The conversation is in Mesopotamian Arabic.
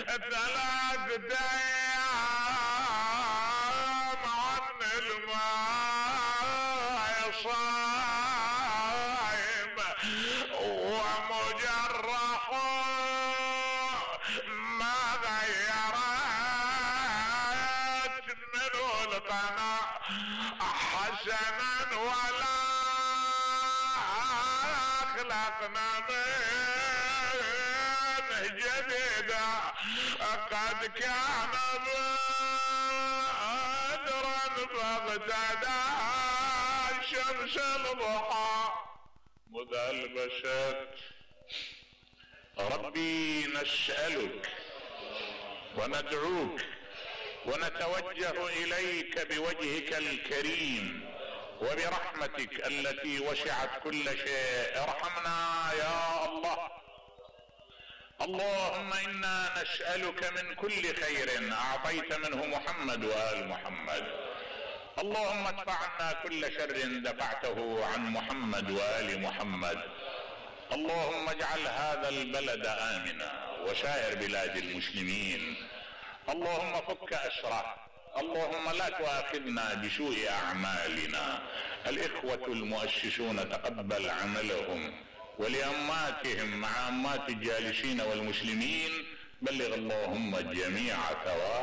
3 ايام عن الماء صايم ومجرح ما غيرت منه القناة حسنا ولا اخلقنا من جديدة قد كان بدرا باغتدى شمس الضحى مذلبست. ربي نسألك وندعوك ونتوجه اليك بوجهك الكريم وبرحمتك التي وسعت كل شيء، ارحمنا يا الله. اللهم انا نسألك من كل خير اعطيت منه محمد وآل محمد. اللهم ادفع عنا كل شر دفعته عن محمد وآل محمد. اللهم اجعل هذا البلد آمنا وسائر بلاد المسلمين. اللهم فك أسره. اللهم لا تؤاخذنا بسوء أعمالنا. الإخوة المؤسسون تقبل عملهم، ولأماتهم مع أمات الجالسين والمسلمين بلغ اللهم الجميع ثواب